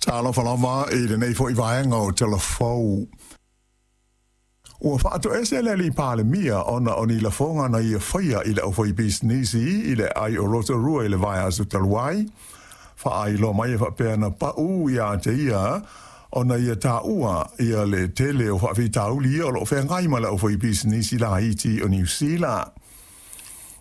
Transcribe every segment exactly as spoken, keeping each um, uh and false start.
Talofa lava i lenei fo'i vaega o Talafou. Ua faatoese le alii Palemia ona o ni lafoga na ia faia i le aufaipisinisi i le ai o Rotorua i le vaiaso talu ai. Faailoa mai e faapea na pau ia te ia ona ia taua ia le tele o faafitauli ia o loo feagai ma le aufaipisinisi laiti o Niu Sila.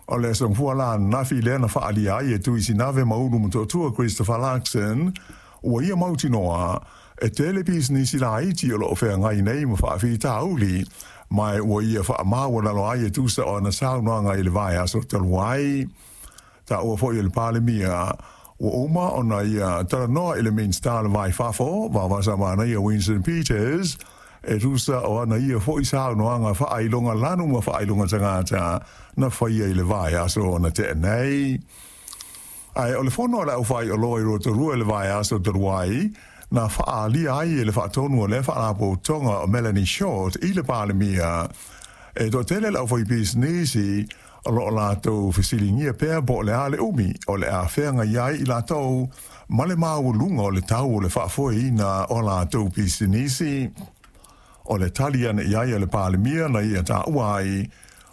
O le aso Gafua la ananafi lea na faaalia ai e Tui Sinave ma Ulu Motootua Christopher Luxon ua ia mautinoa e tele pisinisi laiti o loo feagai nei ma faafitauli ma ua ia faamaualalo ai e tusa o ana saunoaga i le vaiaso talu ai. Taua foi e le Palemia ua uma ona ia talanoa i le Minisita o le Va i Fafo, Vaovasamanaia Winston Peters, e tusa o ana ia fo'i saunoaga faailoga lanu ma faailoga tagata na faia i le vaiaso na tea nei. Ae o le fono a le aufaioloa i Rotorua i le vaiaso talu ai, na faaalia ai e le faatonu o lea faalapotopotoga o Melanie Short i le Palemia e toatele le aufaipisinisi o loo latou fesiligia pea po o le a le umi o le a feagai ai i latou ma le maualuga o le tau o le faafoeina o latou pisinisi. O le tali ane i ai a le Palemia na ia taua ai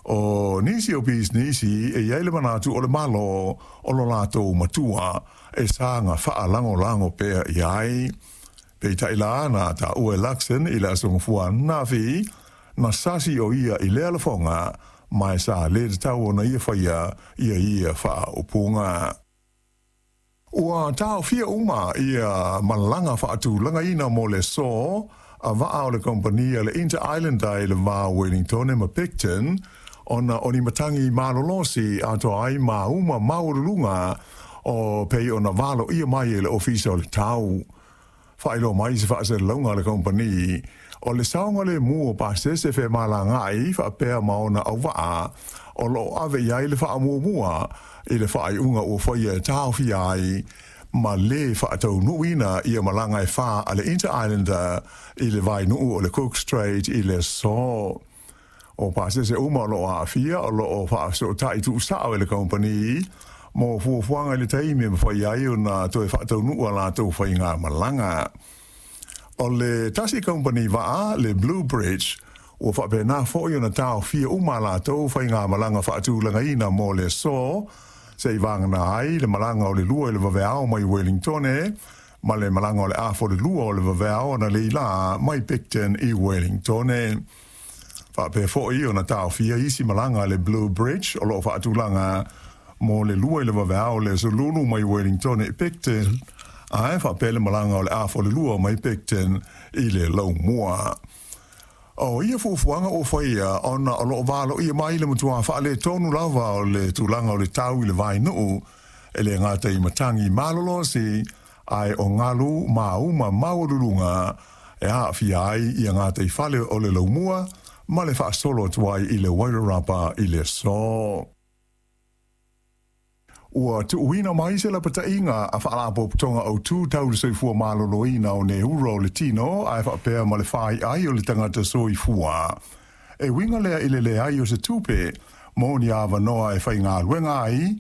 o nisi o pisinisi e i ai le manatu o le Malo o lo latou matua e saga faalagolago pea i ai. Peitai la na taua e Luxon i le aso Gafua ananafi na sasi o ia i lea lafoga ma e sa le tatau ona ia faia ia ia faaupuga. Ua taofia uma ia malaga faatulagaina mo le aso a vaa o le kompania le Inter Islander i le va o Wellington ma Picton ona o ni matagi malolosi atoa ai ma uma maualuluga o pei ona valoia mai e le Ofisa o le Tau. Faailoa mai se faasalalauga a le kompani o le saogalemu o pasese femalagaai faapea ma ona auvaa o loo ave i ai le faamuamua i le faaiuga ua faia e taofia ai ma lē faataunuuina ia malaga e fā a le Inter Islander i le vainuu o le Cook Strait i le aso. O pasese uma o loo aafia o loo faafesootai tuusao e le kompani mo fuafuaga i le taimi e mafai ai ona toe faataunuu a latou faigamalaga. O le tasi kompani vaa le Blue Bridge ua faapena foi ona taofia uma a latou faigamalaga faatulagaina mo le aso seivagana ai le malaga o le lua i le vaveao mai Wellington ma le malaga o le afa o le lua o le vaveao analeila mai Picton i Wellington. Faapea foi ona taofia isi malaga le Blue Bridge o loo faatulaga mo le lua i le vaveao le aso Lulu mai Wellington i Picton ae faapea le malaga o le afa o le lua mai Picton i le Laumua. O ia fuafuaga ua faia ona o loo valoia mai le matua faaletonu lava o le tulaga o le tau i le vainuu e le gata i matagi malolosi ae o galu ma uma maualuluga e aafia ai ia gataifale o le Laumua ma le faasolo atu ai i le Wairarapa i le aso. Ua tuuina mai se lapataiga a faalapotopotoga autū tau le soifua maloloina o neura o le tino ae faapea ma le faiai o le tagata soifua. E uiga lea i le leai o se tupe mo ni avanoa e faigaluega ai.